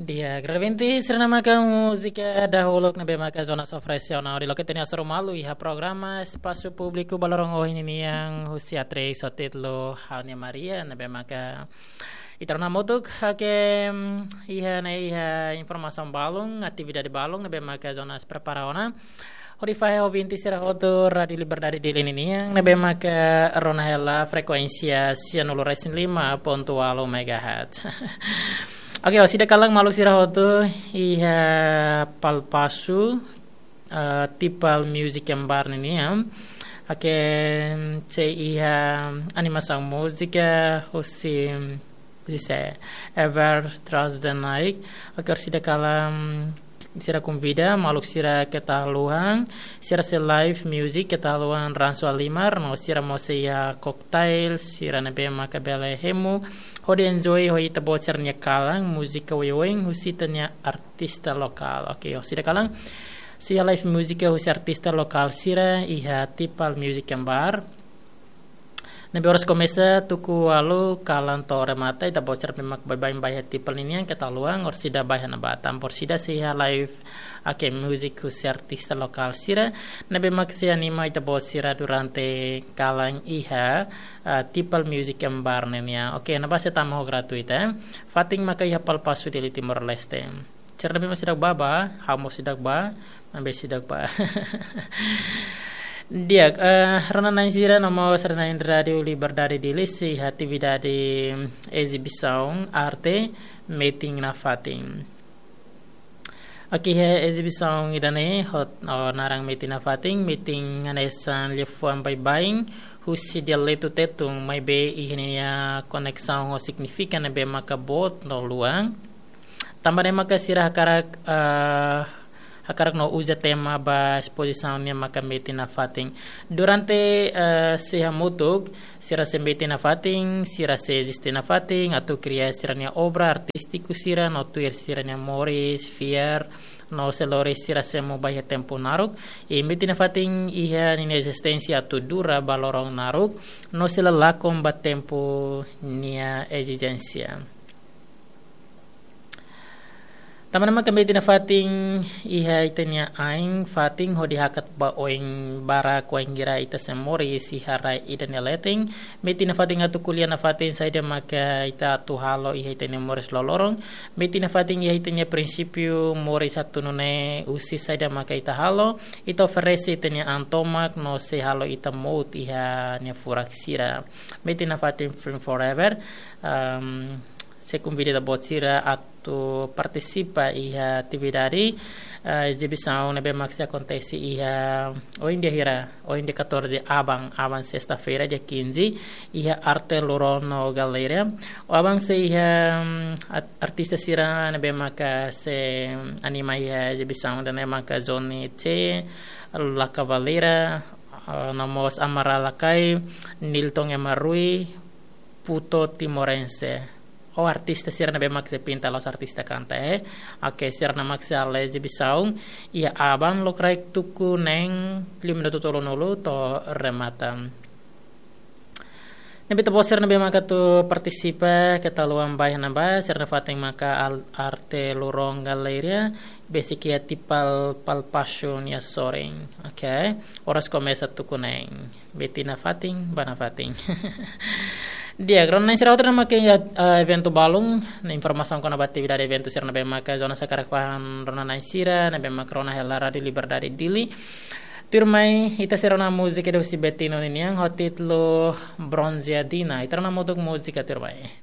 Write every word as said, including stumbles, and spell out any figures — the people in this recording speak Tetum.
Di'ak, grande ouvinte, sira-ne'e maka múzika dahuluk ne'ebé maka Jonas oferese ona hodi loke ita-nia hasoru malu iha programa Espasu Públiku ba loron ohin ninian husi A três ho títulu Ha'u-nia Maria, ne'ebé maka ita rona hamutuk, oke, mm, iha ne'e iha informasaun balun, atividade balun ne'ebé maka Jonas prepara ona hodi fahe ho ouvinte sira hotu Rádiu Liberdade Dili ninian, ne'ebé maka rona hela frekuénsia sianulu resin lima pontu ualu megahertz. Oke, orsida kalan maluk sira hotu iha Palpasu, eh, Tipal Music and Bar ninian. Oke, sei iha animasaun múzika husi, husi sé, Ever Trust the Night. Oke, orsida kalan sira konvida maluk sira keta haluha, sira sei live music keta haluha ransu halimar, no sira mós sei iha cocktail, sira ne'ebé maka bele hemu hodi enjoy ho ita-boot sira-nia kalan, múzika oioin husi ita-nia artista lokál. Oke, orsida kalan sei iha live múzika husi artista lokál sira iha Tipal Music and Bar. Ne'ebé oras komesa tuku ualu kalan to'o remata, ita-boot sira ne'ebé mak baibain ba iha Tipal ninian keta haluha, orsida ba iha ne'ebá, tanba orsida sei iha live, oke, múzika husi artista lokál sira ne'ebé mak sei anima ita-boot sira durante kalan iha, ah, Tipal Music and Bar ninian. Oke, ne'ebá sei tama ho gratuita, eh. Fatin maka iha Palpasu, Dili, Timor-Leste. Sira ne'ebé mak seidauk bá, bá, ha'u mós seidauk bá, maibé seidauk bá. Di'ak, eh, rona-na'in sira no mós sira-na'in Rádiu Liberdade Dili sei iha atividade ezibisaun arte metin nafatin. Oke, iha ezibisaun ida-ne'e ho, ho naran metin nafatin, metin hanesan liafuan baibain husi dialetu Tetun, maibé iha ninia koneksaun ho signifika ne'ebé maka boot no luan. Tanba ne'e maka sira hakarak, eh, hakarak no uza tema ba espozisaun nian maka metin nafatin. Durante, eh, sei hamutuk, sira sei metin nafatin, sira sei eziste nafatin, atu kria sira-nia obra artístiku sira, no tuir sira-nia moris, fiar, no sei lori sira semo ba iha tempu naruk. I metin nafatin iha ninia ezisténsia atu dura ba loron naruk, no sei la lakon ba tempu nia ezijénsia. Tanba ne'e maka metin nafatin iha ita-nia ain-fatin hodi hakat ba oin barak wainhira ita sei moris iha rai ida nia leten. Metin nafatin atu ko'alia nafatin saida maka ita atu halo iha ita-nia moris loroloron. Metin nafatin iha ita-nia prinsípiu moris atu nune'e husi saida maka ita halo. Ita oferese ita-nia an tomak no sei halo ita mout iha nia furak sira. Metin nafatin Film Forever. Ehm, sei konvida ita-boot sira atu partisipa iha atividade, eh, ezibisaun ne'ebé mak sei akontese iha ohin dia hira, ohin dia catorze aban, aban sesta-feira, dia quinze, iha Arte Luron no Galeria. Aban sei iha, mm, at-, artista sira ne'ebé maka sei anima iha ezibisaun ida-ne'e maka Johnny Che, La Cavalera, eh, no mós Amara Lakai, Nilton Emarui, Puto Timorense. Ou artista sira ne'ebé mak sei pinta la'ós artista kanta, eh. Oke, sira-ne'e mak sei halo ezibisaun iha aban lokraik tuku neen liu minutu tolunulu to'o remata. Ne'ebé ita-boot sira ne'ebé maka atu partisipa keta haluha ba iha ne'ebá, sira nafatin maka al-, Arte Luron Galeria, besik iha Tipal Palpasu nia sorin. Oke, oras komesa tuku neen. Metin nafatin, bá nafatin. Di'ak, rona-na'in sira hotu, ne'e maka iha, eh, eventu balun, ne'e informasaun kona-ba atividade eventu sira ne'ebé maka Jonas hakarak fahe ba rona-na'in sira ne'ebé maka rona hela Rádiu Liberdade Dili. Tuirmai, ita sei rona múzika ida husi Betinho ninian ho títulu Bronzeadina. Ita rona hamutuk múzika tuirmai.